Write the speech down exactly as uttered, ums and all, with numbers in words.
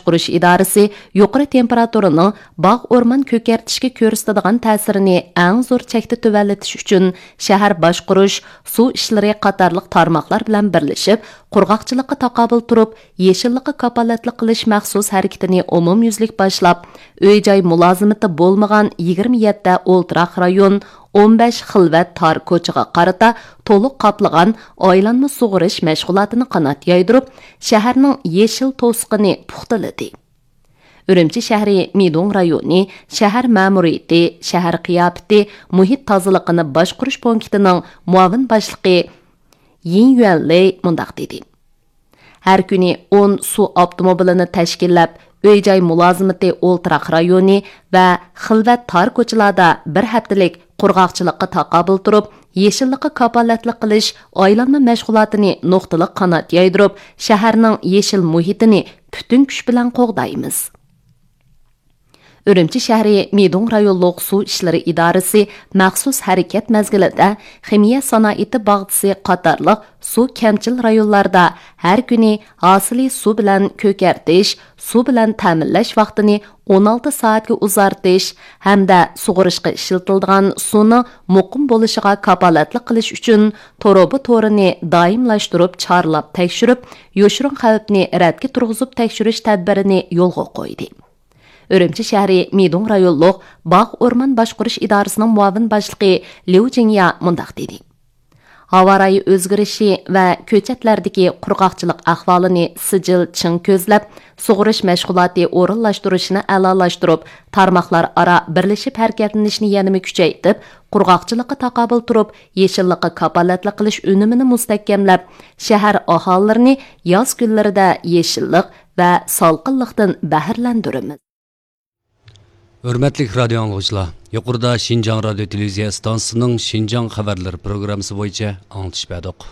باشقۇرۇش ئىدارىسى يۇقىرى تېمپېراتۇرىنىڭ باغ ئورمان كۆكەرتىشكە كۆرسىتىدىغان تەسىرىنى ئەڭ زور چەكتە تۆۋەنلىتىش ئۈچۈن، شەھەر باشقۇرۇش، سۇ ئىشلىرى قاتارلىق تارماقلار بىلەن بىرلىشىپ، قۇرغاقچىلىققا تاقابىل تۇرۇپ، يېشىللىققا كاپالەتلىك قىلىش مەخسۇس ھەرىكىتىنى ئومۇميۈزلۈك باشلاپ، ئۆي-جاي مۇلازىمىتى بولمىغان يىگىرمە يەتتە ئولتۇراق رايون، ئون بەش خىلۋەت تار كوچىغا قارىتا تولۇق قاپلىغان ئايلانما سۇغىرىش مەشغۇلاتىنى قانات يايدۇرۇپ، شەھەرنىڭ يېشىل توسۇقىنى پۇختىلىدى. ئۈرۈمچى شەھىرى مىدۇڭ رايونى شەھەر مەمۇرىيىتى، شەھەر قىياپىتى، مۇھىت تازىلىقىنى باشقۇرۇش پونكىتىنىڭ مۇئاۋىن باشلىقى يىن يۈەنلېي مۇنداق دېدى: ھەر كۈنى ئون سۇ ئاپتوموبىلىنى تەشكىللەپ، ئۆي-جاي مۇلازىمىتى ئولتۇراق رايونى ۋە خىلۋەت تار كوچىلاردا بىر ھەپتىلىك قۇرغاقچىلىققا تاقابىل تۇرۇپ، يېشىللىققا كاپالەتلىك قىلىش ئايلانما مەشغۇلاتىنى نۇقتىلىق قانات يايدۇرۇپ، شەھەرنىڭ يېشىل مۇھىتىنى پۈتۈن كۈچ بىلەن قوغدايمىز. ئۈرۈمچى شەھىرى مىدۇڭ رايونلۇق سۇ ئىشلىرى ئىدارىسى مەخسۇس ھەرىكەت مەزگىلىدە خىمىيە سانائىتى باغچىسى قاتارلىق سۇ كەمچىل رايونلاردا ھەر كۈنى ھاسىلى سۇ بىلەن كۆكەرتىش، سۇ بىلەن تەمىنلەش ۋاقتىنى ئون ئالتە سائەتكە ئۇزارتىش ھەمدە سۇغىرىشقا ئىشلىتىلىدىغان سۇنىڭ مۇقىم بولۇشىغا كاپالەتلىك قىلىش ئۈچۈن تۇرۇبا تورىنى دائىملاشتۇرۇپ چارلاپ تەكشۈرۈپ، يوشۇرۇن خەۋپنى رەتكە تۇرغۇزۇپ تەكشۈرۈش تەدبىرىنى يولغا قويدى. ئۈرۈمچى شەھىرى مىدۇڭ رايونلۇق باغ ئورمان باشقۇرۇش ئىدارىسىنىڭ مۇئاۋىن باشلىقى ليۇ جىڭيا مۇنداق دېدى: ھاۋا رايى ئۆزگىرىشى ۋە كۆچەتلەردىكى قۇرغاقچىلىق ئەھۋالىنى سىجىل چىڭ كۆزلەپ، سۇغىرىش مەشغۇلاتى ئورۇنلاشتۇرۇشنى ئەلالاشتۇرۇپ، تارماقلار ئارا بىرلىشىپ ھەرىكەتلىنىشنى يەنىمۇ كۈچەيتىپ، قۇرغاقچىلىققا تاقابىل تۇرۇپ، يېشىللىققا كاپالەتلىك قىلىش ئۈنۈمىنى مۇستەھكەملەپ، شەھەر ئاھالىلىرىنى ياز كۈنلىرىدە يېشىللىق ۋە سالقىنلىقتىن بەھرىلەندۈرىمىز. ھۆرمەتلىك رادىيو ئاڭلىغۇچىلار، يۇقىرىدا شىنجاڭ رادىيو تېلېۋىزىيە ئىستانسىسىنىڭ شىنجاڭ خەۋەرلىرى پروگراممىسى بويىچە ئاڭلىتىش بەردۇق.